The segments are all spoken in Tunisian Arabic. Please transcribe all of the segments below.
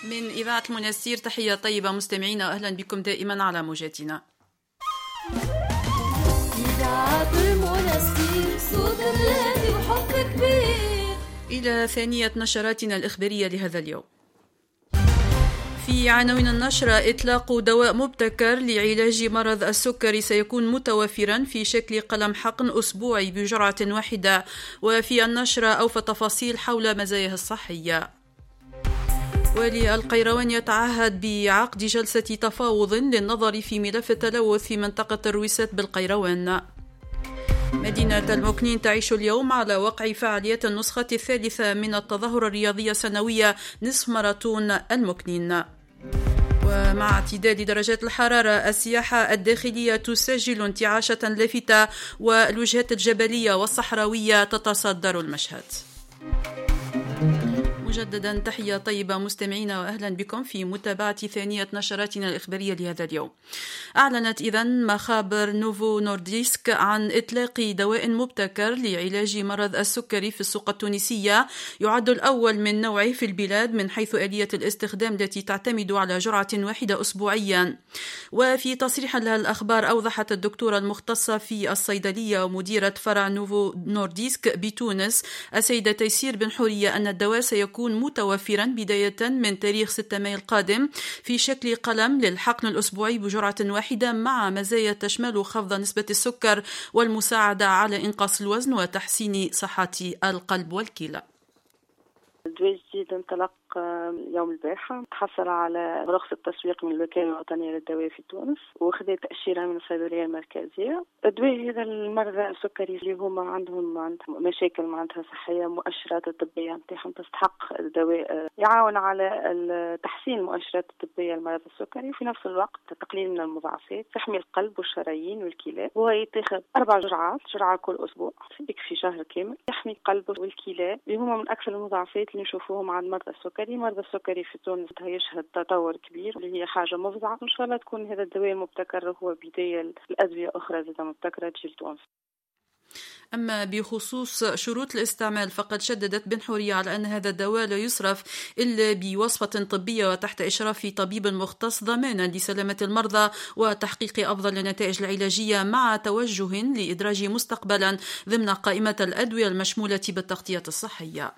من إذاعة المنستير تحية طيبة مستمعينا، وأهلا بكم دائما على موجاتنا. إذاعة المنستير، صوت بلادي وحب كبير. إلى ثانية نشراتنا الإخبارية لهذا اليوم. في عناوين النشرة: إطلاق دواء مبتكر لعلاج مرض السكري سيكون متوفرا في شكل قلم حقن أسبوعي بجرعة واحدة. وفي النشرة أوفى تفاصيل حول مزاياه الصحية. والي القيروان يتعهد بعقد جلسة تفاوض للنظر في ملف التلوث في منطقة الرويسات بالقيروان. مدينة المكنين تعيش اليوم على وقع فعاليات النسخة الثالثة من التظاهرة الرياضية السنوية نصف ماراثون المكنين. ومع اعتدال درجات الحرارة، السياحة الداخلية تسجل انتعاشة لافتة، والوجهات الجبلية والصحراوية تتصدر المشهد. مجددا تحية طيبة مستمعينا، وأهلا بكم في متابعة ثانية نشراتنا الإخبارية لهذا اليوم. أعلنت إذن مخابر نوفو نورديسك عن إطلاق دواء مبتكر لعلاج مرض السكري في السوق التونسية، يعد الأول من نوعه في البلاد من حيث آلية الاستخدام التي تعتمد على جرعة واحدة أسبوعيا. وفي تصريح لها الأخبار، أوضحت الدكتورة المختصة في الصيدلية ومديرة فرع نوفو نورديسك بتونس السيدة تيسير بن حورية أن الدواء سيكون متوفرا بداية من تاريخ 6 مايو القادم في شكل قلم للحقن الأسبوعي بجرعة واحدة، مع مزايا تشمل خفض نسبة السكر والمساعدة على إنقاص الوزن وتحسين صحة القلب والكلى. الدواء الجديد انطلق يوم البارحة، تحصل على رخصة تسويق من الوكالة الوطنية للدواء في تونس، وخذ تأشيرة من الصيدلية المركزية. الدواء هذا للمرضى السكري اللي هما عندهم مشاكل معناتها صحية، مؤشرات الطبية نتاعهم تستحق الدواء، يعاون على تحسين المؤشرات الطبية للمرض السكري، وفي نفس الوقت تقليل من المضاعفات، تحمي القلب والشرايين والكلى. وهو يتاخذ 4 جرعات، جرعة كل أسبوع يكفي شهر كامل، يحمي القلب والكلى اللي هما من أكثر المضاعفات اللي نشوفوهم عند مرضى السكري. مرضى السكري في تونس يشهد تطور كبير اللي هي حاجة مفزعة. إن شاء الله تكون هذا الدواء المبتكر هو بداية الأدوية أخرى زادة مبتكرة تجي لتونس. أما بخصوص شروط الاستعمال، فقد شددت بن حورية على أن هذا الدواء لا يصرف إلا بوصفة طبية وتحت إشراف طبيب مختص، ضمانا لسلامة المرضى وتحقيق أفضل النتائج العلاجية، مع توجه لإدراجه مستقبلا ضمن قائمة الأدوية المشمولة بالتغطية الصحية.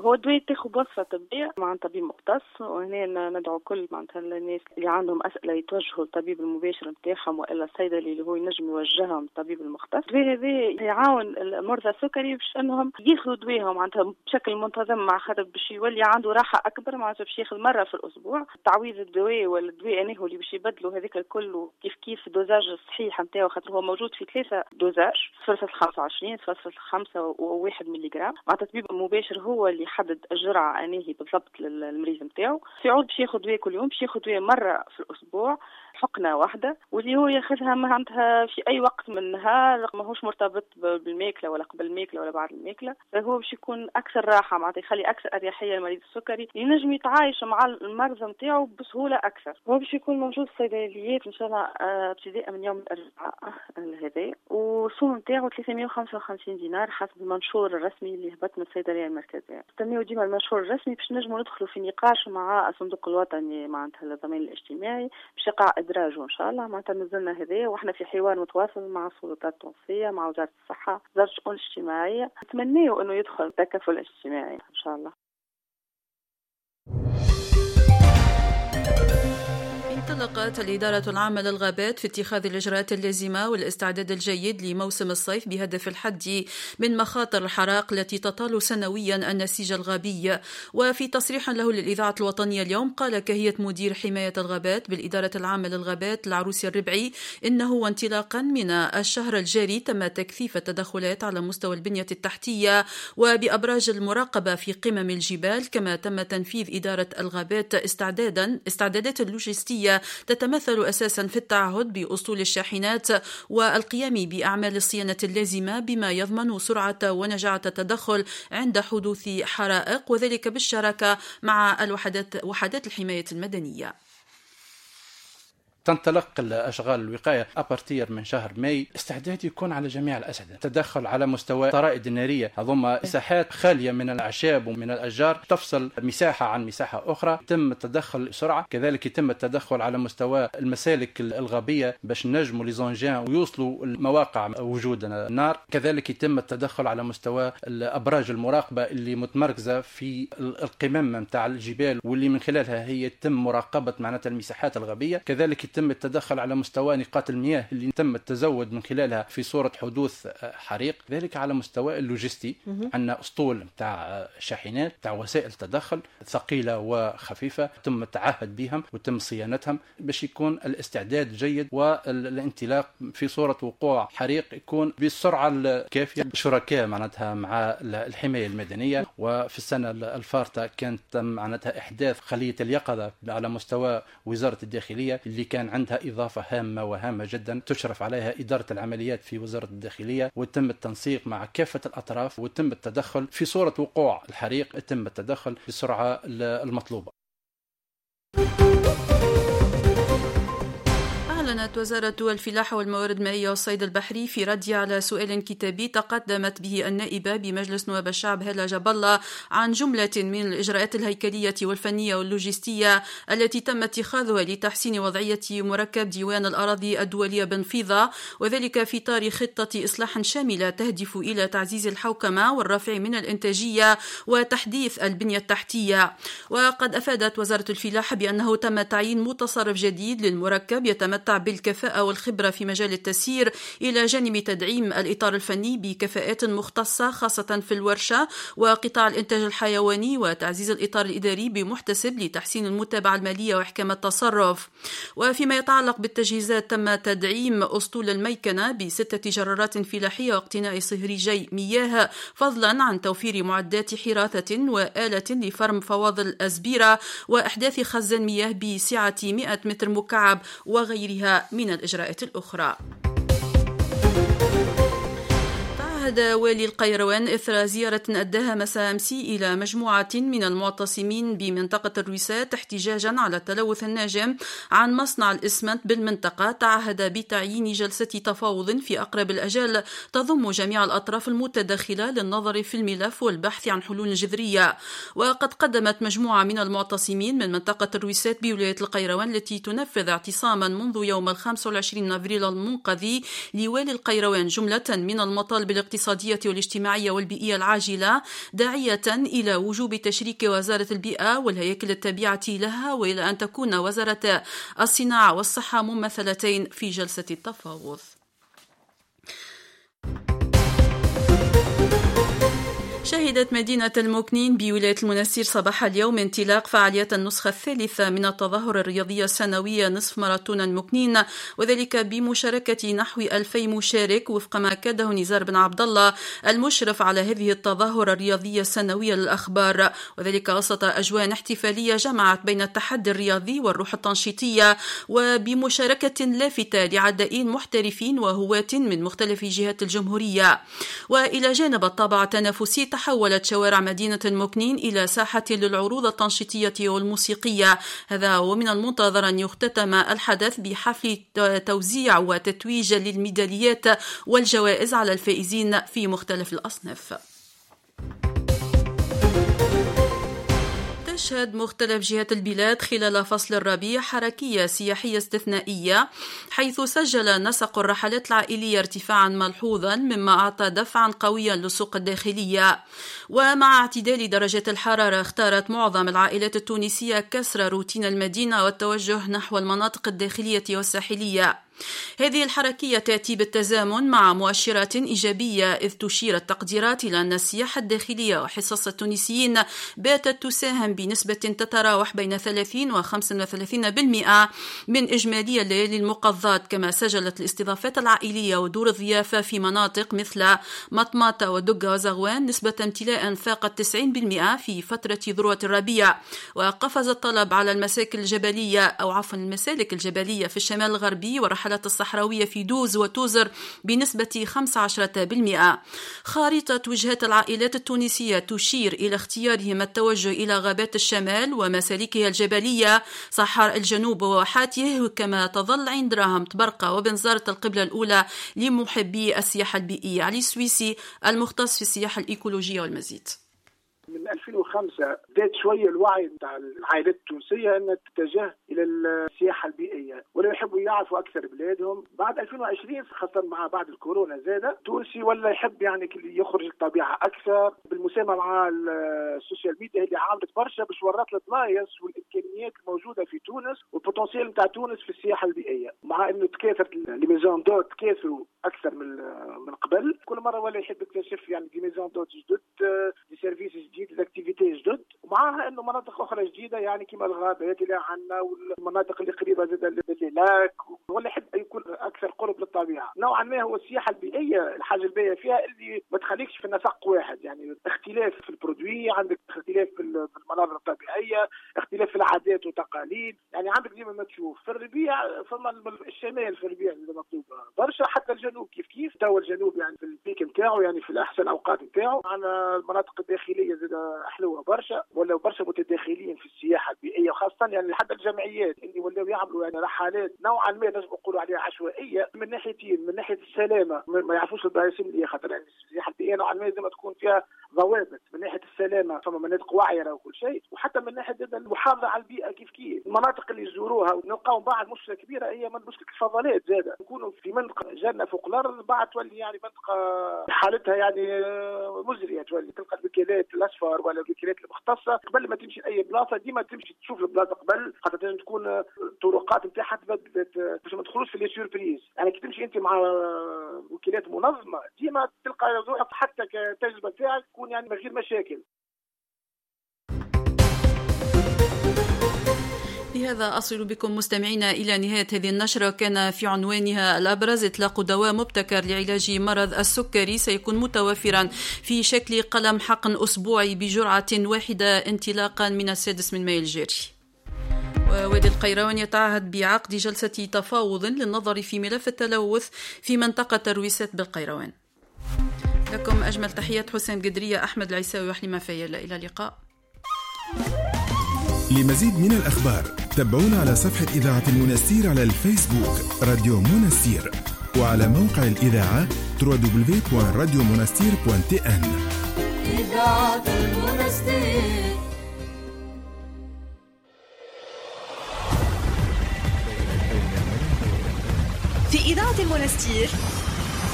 هو الدواء تاخذ بوصفة طبية مع طبيب مختص، وهنا ندعو كل معناتها الناس اللي عندهم أسئلة يتوجهوا للطبيب المباشر نتاعهم وإلا الصيدلي اللي هو ينجم يوجههم الطبيب المختص. الدواء هذا يعاون المرضى السكري باش أنهم ياخذوا دواهم معناتها بشكل منتظم، مع خاطر باش يولي عنده راحة أكبر، معناتها باش ياخذ مرة في الأسبوع. تعويض الدواء ولا الدواء أنه اللي باش يبدلوا هذاك الكل كيف كيف dosage الصحيح نتاعو، خاطر هو موجود في 3 dosages، 0.25، 0.5 و1 ملي جرام. معناتها الطبيب المباشر هو اللي يحدد الجرعة أنهي بالضبط للمريض نتاعو. في عود باش ياخذ دواء كل يوم، باش ياخذ دواء مرة في الأسبوع، حقنة واحدة، واللي هو ياخذها معناتها في أي وقت من النهار، ماهوش مرتبط بالماكلة ولا قبل الماكلة ولا بعد الماكلة. فهو باش يكون أكثر راحة، معناتها يخلي أكثر أريحية للمريض السكري، ينجم يتعايش مع المرض نتاعو بسهولة أكثر. هو باش يكون موجود في الصيدليات إن شاء الله ابتداء من يوم الأربعاء هذا، والسوم نتاعو 355 دينار حسب المنشور الرسمي اللي هبط من الصيدلية المركزية. نستناو ديما المنشور الرسمي باش نجموا ندخلوا في نقاش مع الصندوق الوطني معناتها للضمان الاجتماعي باش يقع ادراجه ان شاء الله. معناتها نزلنا هذايا واحنا في حوار متواصل مع السلطات التونسية، مع وزارة الصحة، وزارة الشؤون الاجتماعية. نتمناو انه يدخل التكافل الاجتماعي ان شاء الله. انطلقت الإدارة العامة للغابات في اتخاذ الإجراءات اللازمة والاستعداد الجيد لموسم الصيف بهدف الحد من مخاطر الحرائق التي تطال سنويا النسيج الغابي. وفي تصريح له للإذاعة الوطنية اليوم، قال كهية مدير حماية الغابات بالإدارة العامة للغابات العروسي الربعي إنه وانطلاقا من الشهر الجاري تم تكثيف التدخلات على مستوى البنية التحتية وبأبراج المراقبة في قمم الجبال، كما تم تنفيذ إدارة الغابات استعدادات اللوجستية تتمثل أساسا في التعهد بأسطول الشاحنات والقيام بأعمال الصيانة اللازمة بما يضمن سرعة ونجاعة التدخل عند حدوث حرائق، وذلك بالشراكة مع وحدات الحماية المدنية. تنطلق الأشغال الوقاية à partir من شهر ماي. استعداد يكون على جميع الأسعدة، تدخل على مستوى الطرائد النارية، هذوما مساحات خالية من الأعشاب ومن الأشجار تفصل مساحة عن مساحة أخرى، تم التدخل بسرعة. كذلك يتم التدخل على مستوى المسالك الغابية باش نجموا les engins ويوصلوا المواقع وجود النار. كذلك يتم التدخل على مستوى الأبراج المراقبة اللي متمركزة في القمم نتاع الجبال واللي من خلالها هي يتم مراقبة معناتها المساحات الغابية. كذلك يتم التدخل على مستوى نقاط المياه اللي تم التزود من خلالها في صورة حدوث حريق. ذلك على مستوى اللوجستي عندنا أسطول نتاع شاحنات نتاع وسائل تدخل ثقيلة وخفيفة تم التعهد بهم وتم صيانتهم باش يكون الاستعداد جيد والانطلاق في صورة وقوع حريق يكون بالسرعة الكافية. شركاء معناتها مع الحماية المدنية، وفي السنة الفارطة كانت تم معناتها إحداث خلية اليقظة على مستوى وزارة الداخلية اللي كان عندها إضافة هامة وهامة جدا تشرف عليها إدارة العمليات في وزارة الداخلية، وتم التنسيق مع كافة الأطراف وتم التدخل في صورة وقوع الحريق، تم التدخل بالسرعة المطلوبة. أعلنت وزارة الفلاحة والموارد المائية والصيد البحري في رد على سؤال كتابي تقدمت به النائبة بمجلس نواب الشعب هالة جاب الله عن جملة من الإجراءات الهيكلية والفنية واللوجستية التي تم اتخاذها لتحسين وضعية مركب ديوان الأراضي الدولية بنفيضة، وذلك في إطار خطة إصلاح شاملة تهدف إلى تعزيز الحوكمة والرفع من الإنتاجية وتحديث البنية التحتية. وقد أفادت وزارة الفلاحة بأنه تم تعيين متصرف جديد للمركب يتمتع بالكفاءة والخبرة في مجال التسيير، إلى جانب تدعيم الإطار الفني بكفاءات مختصة خاصة في الورشة وقطاع الإنتاج الحيواني، وتعزيز الإطار الإداري بمحتسب لتحسين المتابعة المالية وإحكام التصرف. وفيما يتعلق بالتجهيزات تم تدعيم أسطول الميكنة ب6 جرارات فلاحية واقتناء صهريجي مياه، فضلا عن توفير معدات حراثة وآلة لفرم فواضل أزبيرة وإحداث خزان مياه بسعة 100 متر مكعب وغيرها من الإجراءات الأخرى. تعهد والي القيروان إثر زيارة أداها مساء أمس إلى مجموعة من المعتصمين بمنطقة الرويسات احتجاجا على التلوث الناجم عن مصنع الإسمنت بالمنطقة، تعهد بتعيين جلسة تفاوض في أقرب الأجال تضم جميع الأطراف المتداخلة للنظر في الملف والبحث عن حلول جذرية. وقد قدمت مجموعة من المعتصمين من منطقة الرويسات بولاية القيروان التي تنفذ اعتصاما منذ يوم 25 أبريل المنقضي لوالي القيروان جملة من المطالب الاقتصادية والاجتماعية والبيئية العاجلة، داعية إلى وجوب تشريك وزارة البيئة والهياكل التابعة لها، وإلى أن تكون وزارة الصناعة والصحة ممثلتين في جلسة التفاوض. شهدت مدينة المكنين بولاية المنستير صباح اليوم انطلاق فعاليات النسخة الثالثة من التظاهر الرياضية السنوية نصف ماراثون المكنين، وذلك بمشاركة نحو 2000 مشارك وفق ما أكده نزار بن عبد الله المشرف على هذه التظاهر الرياضية السنوية للأخبار، وذلك وسط أجواء احتفالية جمعت بين التحدي الرياضي والروح التنشيطية، وبمشاركة لافتة لعدائين محترفين وهواة من مختلف جهات الجمهورية. وإلى جانب الطابع التنافسي تحولت شوارع مدينة المكنين إلى ساحة للعروض التنشيطية والموسيقية، هذا ومن المنتظر أن يختتم الحدث بحفل توزيع وتتويج للميداليات والجوائز على الفائزين في مختلف الأصناف. تشهد مختلف جهات البلاد خلال فصل الربيع حركية سياحية استثنائية، حيث سجل نسق الرحلات العائلية ارتفاعا ملحوظا مما أعطى دفعا قويا للسوق الداخلية. ومع اعتدال درجات الحرارة اختارت معظم العائلات التونسية كسر روتين المدينة والتوجه نحو المناطق الداخلية والساحلية. هذه الحركية تأتي بالتزامن مع مؤشرات إيجابية، إذ تشير التقديرات إلى أن السياحة الداخلية وحصص التونسيين باتت تساهم بنسبة تتراوح بين 30 و 35% من إجمالي الليالي المقضاة، كما سجلت الاستضافات العائلية ودور الضيافة في مناطق مثل مطماطة ودقة وزغوان نسبة امتلاء فاقت 90% في فترة ذروة الربيع. وقفز الطلب على المسالك الجبلية في الشمال الغربي ورحلات الرحلات الصحراوية في دوز وتوزر بنسبة 15%. خارطة وجهات العائلات التونسية تشير إلى اختيارهم التوجه إلى غابات الشمال ومسالكها الجبلية، صحراء الجنوب وواحاته، كما تظل عين دراهم تبرقة وبنزرت القبلة الأولى لمحبي السياحة البيئية. علي السويسي المختص في السياحة الإيكولوجية والمزيد. من 2005 بدات شوية الوعي نتاع العائلات التونسية ان تتجه الى السياحة البيئية ولا يحبوا يعرفوا اكثر بلادهم. بعد 2020 خاصة مع بعد الكورونا زاده التونسي ولا يحب يعني يخرج الطبيعة اكثر، بالمساهمه مع ال social media اللي عملت برشا باش ورات البلايص والامكانيات الموجودة في تونس وال potentiel نتاع تونس في السياحة البيئية. مع انه تكاثرت les maisons d'hôtes، تكاثروا اكثر من قبل، كل مرة ولا يحب يكتشف يعني des maisons d'hôtes جدد، des services جديد، activités جدد، ومعها انه مناطق اخرى جديدة يعني كما الغابات اللي عندنا والمناطق اللي قريبه زاد لل lacs، ولا يحب يكون اكثر قرب للطبيعة. نوعا ما هو السياحة البيئية الحاجة الباهيه فيها اللي ما تخليكش في نسق واحد، يعني اختلاف في ال produit، عندك اختلاف في المناظر الطبيعية، اختلاف في العادات والتقاليد، يعني عندك ديما ما تشوف في الربيع فما الشمال في الربيع اللي مطلوب برشا، حتى الجنوب كيف كيف. تو الجنوب يعني في ال pic نتاعو يعني في الاحسن اوقات نتاعو. عندنا المناطق الداخلية زاد حلوة برشا، ولاو برشا متداخلين في السياحة البيئية، وخاصة يعني حتى الجمعيات اللي ولاو يعملوا يعني رحلات نوعا ما نجم نقولوا عليها عشوائية من ناحيتين، من ناحية السلامة ما يعرفوش البلايص اللي خاطر يعني السياحة البيئية نوعا ما لازم تكون فيها ضوابط، من ناحية السلامة فما مناطق وعره وكل شيء، وحتى من ناحية المحافظة على البيئة كيف كيف. المناطق اللي يزوروها ونلقاو بعد مشكلة كبيرة هي من مشكلة الفضلات زاده، نكونوا في منطقة جنة فوق الارض بعد تولي يعني منطقة حالتها يعني مزرية، تولي تلقى الوكالات الاصفر ولا الوكالات المختصة قبل ما تمشي لاي بلاصة ديما تمشي تشوف البلاصة قبل، خاطر تنجم تكون الطرقات نتاعها تبدلت باش ما تدخلوش في les surprises. يعني كي تمشي انت مع وكالات منظمة ديما تلقى روحك حتى كتجربة تاعك تكون يعني من غير مشاكل. بهذا أصل بكم مستمعينا إلى نهاية هذه النشرة. كان في عنوانها الأبرز إطلاق دواء مبتكر لعلاج مرض السكري سيكون متوفرا في شكل قلم حقن أسبوعي بجرعة واحدة انطلاقا من 6 ماي الجاري. ووادي القيروان يتعهد بعقد جلسة تفاوض للنظر في ملف التلوث في منطقة الرويسات بالقيروان. لكم أجمل تحيات حسين قدرية، أحمد العيساوي وحليمة فيلا. إلى اللقاء. لمزيد من الأخبار تابعونا على صفحة إذاعة المنستير على الفيسبوك راديو منستير، وعلى موقع الإذاعة www.radiomonastir.tn. إذاعة المنستير. في إذاعة المنستير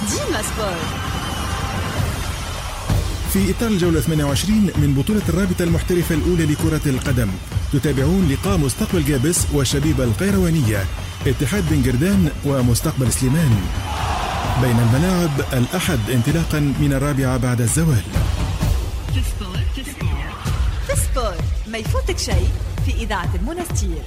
ديما sport. في إطار الجولة 28 من بطولة الرابطة المحترفة الأولى لكرة القدم تتابعون لقاء مستقبل جابس والشبيبة القيروانية، اتحاد بن جردان ومستقبل سليمان. بين الملاعب الأحد انطلاقا من 4 بعد الزوال. في sport ما يفوتك شيء في إذاعة المنستير.